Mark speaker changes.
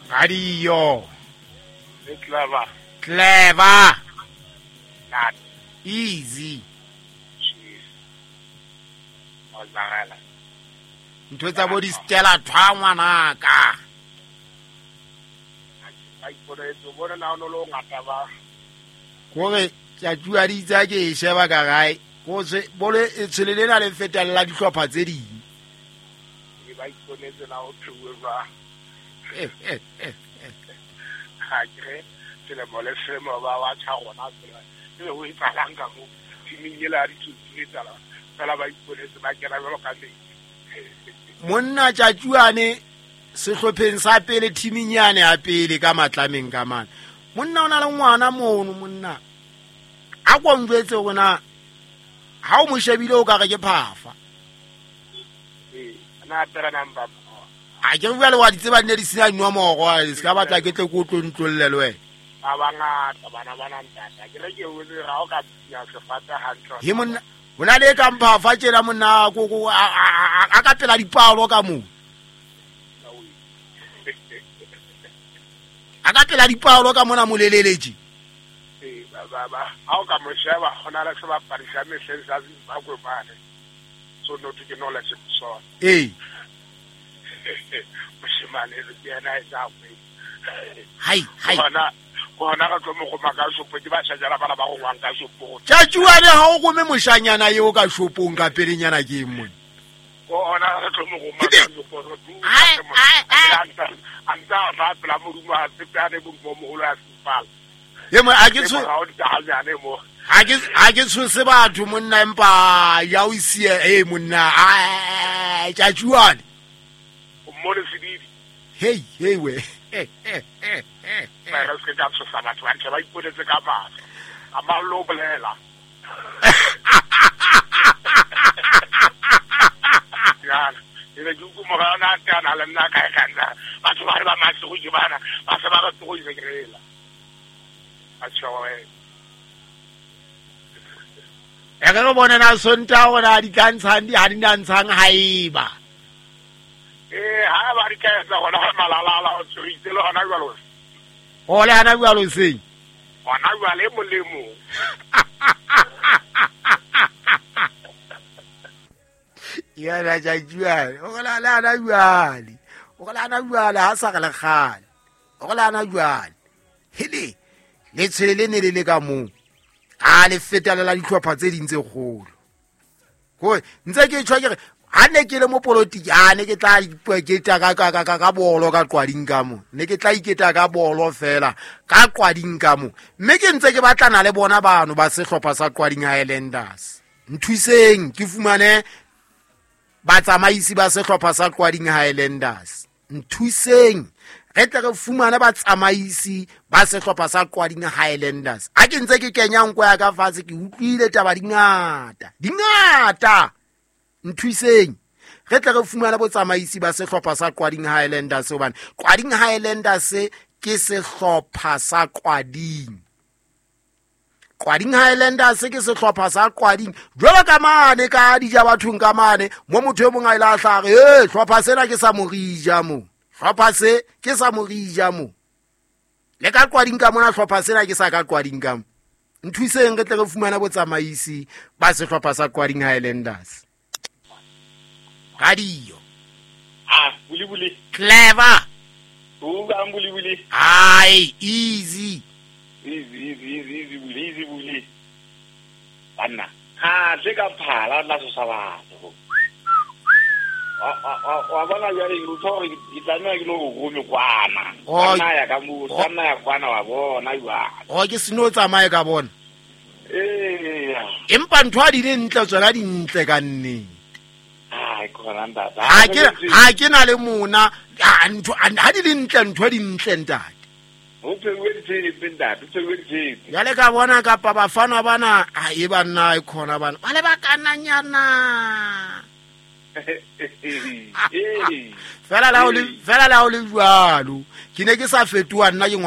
Speaker 1: Radio.
Speaker 2: Le clever.
Speaker 1: Clever.
Speaker 2: Not
Speaker 1: easy.
Speaker 2: Jeez. Ozagala.
Speaker 1: Ntho tsa bo di Stella thwa ngwanaka.
Speaker 2: Ba iponetse bona na ono lo ngata ba.
Speaker 1: Kore tjatjua di tsa ke e sheba ka gae. Ko se bole e tshwele lena le fetella dihlopha tse ding.
Speaker 2: Ba iponetse na o thuwe ba. Ha ke selemo le selemo ba wa tjha rona tsela. E ho etsahalang ka mo timing ela di tsutsu tsala. Fela ba iponetse ba kena jwalo ka metsi.
Speaker 1: Monna tjatjuane sehlopheng sa pele timing yane ya pele ka matlameng ka mane. Monna o na le ngwana mono monna. A ko njwetse hore na ha o mo shebile o ka re ke phafa.
Speaker 2: Na pera number.
Speaker 1: A ke bua le wa ditseba di ne di sena dinomoro, se ka batla ke tle ko tlo ntlolle le wena.
Speaker 2: Ba bangata bana ba nantata. Ke re ke o le ra o ka ya sefata hantle.
Speaker 1: He monna hona le ka mphafa tjena monna ko a ka pela dipalo ka mo. A ka pela dipalo ka mona moleleleji.
Speaker 2: Eh ba ba ha o ka mo sheba hona le sebapadi sa mehleng sa Zimbabwe mane. So no ke no la se sona.
Speaker 1: Eh.
Speaker 2: Moshemane le yena e tsa go.
Speaker 1: Hai hai.
Speaker 2: Bona ka tlo mo goma ka shopo ke ba shajala bana ba go ngwang ka shopo.
Speaker 1: Tjatjuane ha o gome moshanyana eo ka shopong ka pelenyana ke eng mone.
Speaker 2: Bona ka tlo mo goma ka shopo.
Speaker 1: Ai ai ai.
Speaker 2: Anta ba pela modumo a tsepane bo moholo ya sefala.
Speaker 1: Ye mo a ke tsho ha ke tshose batho monna empa ya o isie eh monna a tjatjuane.
Speaker 2: O mmone sedidi.
Speaker 1: Hey hey we.
Speaker 2: Ba re se ka tshosa batho ba ntse ba iponetse ka mahlo. A mallo bolela. Ya, e re ke mo ga na tana le nna ka ka nna. Batho ba re ba matlo go bana, ba se ba re tlo go isekrela. A tshoe.
Speaker 1: E re bone na sonta hore di tla ntshang di ha di na ntshang haeba.
Speaker 2: Eh ha ba di ka etsa hona malalala o tshoitse le hona jwalo.
Speaker 1: O le hana jwalo seng.
Speaker 2: Hona jwale molemo.
Speaker 1: Ya la jajua, o la la na jwale. O la na jwale ha sa re le kgale. O la na jwale. Hele le tshwele le ne le le ka moo. A le fetela la dihlopha tse ding tse kgolo. Ko ntse ke tshwa ke re ha ne ke le mo politiki a ne ke tla iketa ka bolo ka qwading ka mo. Ne ke tla iketa ka bolo fela ka qwading ka mo. Mme ke ntse ke batlana le bona bano ba sehlopha sa Qwading Highlanders. Nthuseng ke fumane batsamaisi ba sehlopha sa Qwading Highlanders. Nthuseng re tle re fumane batsamaisi ba sehlopha sa Qwading Highlanders. Ha ke ntse ke kenya nko ya ka fatshe ke utlwile taba dingata. Dingata. Nthuseng re tle re fumane botsamaisi ba sehlopha sa Qwading Highlanders hobane Qwading Highlanders ke sehlopha sa Qwading. Qwading Highlanders ke sehlopha sa Qwading. Jwalo ka mane ka dija bathong ka mane mo motho e mong a ile a hlare eh hlopha sena ke sa morija mo. Hlopha se ke sa morija mo. Le ka Qwading ka mona hlopha sena ke sa ka Qwading ka mo. Nthuseng re tle re fumane botsamaisi ba sehlopha sa Qwading Highlanders. Radio.
Speaker 3: Ah, buli buli.
Speaker 1: Clever.
Speaker 3: Uga buli buli.
Speaker 1: Ai, easy.
Speaker 3: Easy easy easy easy buli easy buli. Banna. Ha, se ka phala la so sa batho. Wa bona jwale ke utlwa hore ke tlameha ke lo rome kwana. Nna ya ka mo, nna ya kwana wa bona jwale.
Speaker 1: O ke seno tsamaye ka bona.
Speaker 3: Eh.
Speaker 1: Empa ntho ha di le ntle tsona di ntle ka nnete.
Speaker 3: Ha
Speaker 1: ke na le mona ntho ha di le ntle ntho di ntle ntate.
Speaker 3: O pheuwe ditshepe ntate, o pheuwe ditshepe.
Speaker 1: Jwale ka bona kapa bafana bana a e banna e khona bana. Ba le ba kananyana. Fela la o le jwalo. Ke ne ke sa fetoha nna ke ngwana.